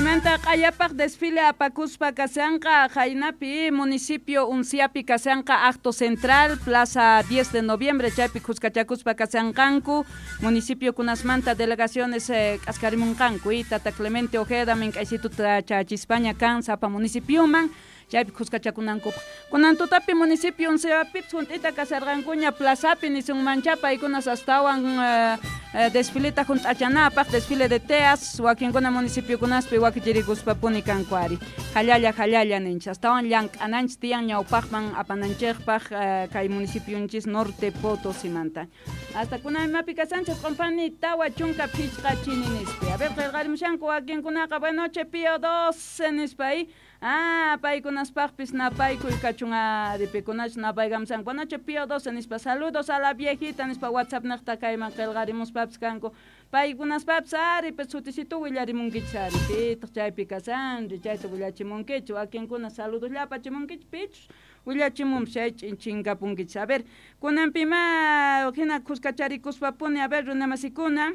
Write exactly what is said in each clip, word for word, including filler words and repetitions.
Chaymanta q'ayapaq desfile apakuspa kashanqa Jaynapi municipio Unciapi kashanqa acto central plaza diez de noviembre chaypi khuskachakuspa kashanqanku municipio kunasmanta delegaciones eh, k'askarimunqanku y Tata Clemente Ojeda mink'aysituta chachispaña kan sapa municipioman chaypi khuskachakunankupaq kunan tutapi municipio Unciapipis junt'ita kasharqankuña plazapi nisunmancha paykunas astawan eh, eh, desfileta junt'achanapaq desfile de teas wakinkuna municipiokunaspi wakichirikuspapuni kanku ari jallalla jallalla ninchis astawan llank'ananchis tiyan ñawpaqman apananchikpaq eh, kay municipionchis Norte Potosimanta hasta kunan imapi kasanchis q'unpani tawa chunka phichqa chini nispi a ver qillqarimushanku wakinkunaqa buenas noches Pío doce nispa y ah paykunaspaqpis napaykuy kachun ari pikunachus napaykamusanku buenas noches Pío doce nispa saludos a la viejita nispa WhatsApp niqta kayman qillqarimuspapis kanku paykunaspapis ari pues sutisitu willarimunkichis ari pitaq chaypi kasanri chayta willachimunkichis wakinkuna saludos apachimunkichis pichus willachimunpis chay ch'in chinkapunkichis a ver kunanpima hina khuskacharikuspapuni a ver runamasikuna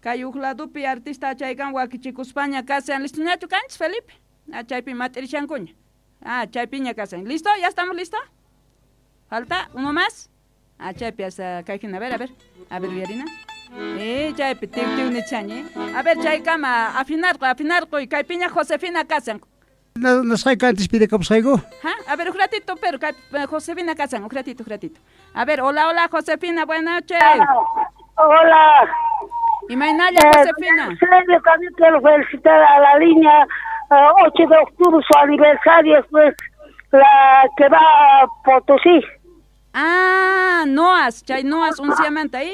kay huk ladupi artista chaykan wakichikuspaña kasan listoñachu kanchis Felipe ah chaypi mat'irishankuña ah chaypiña kasan listo ya estamos listo falta uno más ah chaypi hasta kay hina a ver a ver a ver uyarina eh chaypi tiw tiw nichaña a ver chaykama afinarqoy afinarqoy kaypiña Josefina kasan Nasqayku antes pidikapusqayku. ¿Ja? A ver, un ratito, pero Josefina kasan, un ratito, un ratito. A ver, hola, hola, Josefina, buenas noches. Hola. Imaynalla, Eh, Josefina. Eusebio, también quiero felicitar a la línea eh, ocho de octubre, su aniversario, pues, la que va a Potosí. Ah, Noas, chay Noas, unciamanta ahí.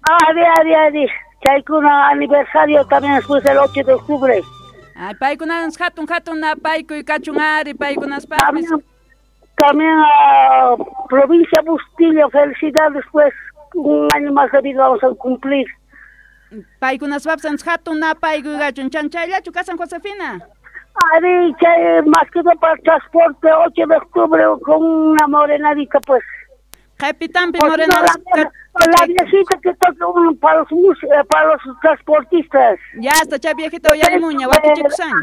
Adi, adi, adi. Chaykuna aniversario también después del ocho de octubre. Ay, paykunas hatun hatun napaykuy kachun ari paykunaspaqpis. También, también a provincia Bustillo, felicidades, pues, un año más de vida vamos a cumplir. Paykunaspapis hatun napaykuy kachun chanchayllachu kasan Josefina. Adi, chay, más que todo para el transporte, ocho de octubre con una morenadita, pues. Qhipitanpi O si no, morena la, la viejita que toca un, para los mus- eh, para los transportistas. Ya está, chay viejita uyarimuña, wakichikusaña.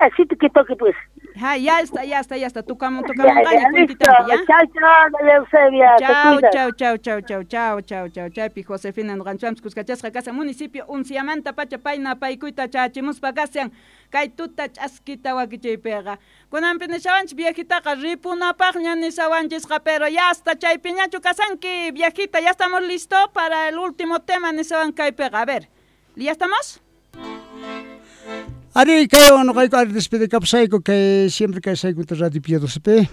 Así que toque, pues. Ja, ya está, ya está, ya está. Tukamun, Ya, tukamunqaña ya, listo. kuntitampi, ya. Chao, chao, Eusebia. Te Chau, cuidas. chau, chau, chau, chau, chau, chau, chau, chaypi Josefina nuqanchwanpis kuskachasqa kasan municipio Unciamanta pacha payna paykuyta chachimuspa kasan kay tuta ch'askita wakichaypiqa kunanpi nishawanchis viejitaqa ripunapaqña nishawanchisqa pero ya hasta chaypiñachu kasanki viejita ya estamos listo para el último tema nishawan kaypiqa a ver ¿ya estamos? Ari kaywan noqayku ari despedikapusayku kay siempre kaysayku Radio Pío doce P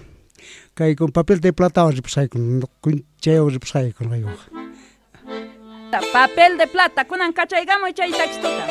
kay con papel de plata ripusayku chaywan ripusayku noqaykuqa. Papel de plata kunan kachaykamuy chay taxtuta.